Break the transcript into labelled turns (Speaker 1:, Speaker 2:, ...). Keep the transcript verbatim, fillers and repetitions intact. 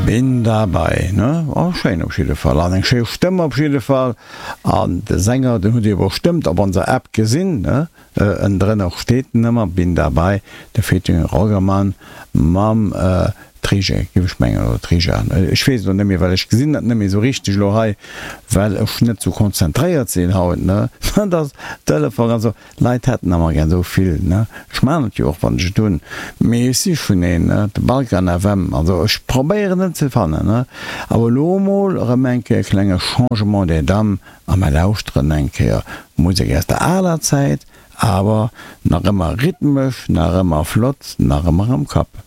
Speaker 1: Bin dabei, ne? Oh, schéin op jidde Fall an eng schéi Stëmm op jidde Fall an de Sänger, den hutt Dir bestëmmt op onser App gesinn, ne? Ënnendrënner steet en ëmmer, Bin dabei, de featuring Roggerman mam Trige, géif ech mengen, oder Trija, ech weess et elo net méi, well ech gesinn dat net méi esou richteg elo hei, well ech net esou konzentréiert sinn haut, ne? Dat ass Telefon, also Leit hätten ëmmer gär esou vill, ne? Ech maachen et jo och, wann ech et hunn, mee ech sichen een, ne? De Balkan F M, also ech probéieren en ze fannen, ne? Awer elo emol erëm eng Kéier e klenge Changement des dames a mer lauschteren eng Kéier Musek aus der aler Zäit, awer nach ëmmer rhythmesch, nach ëmmer flott, nach ëmmer am Kapp.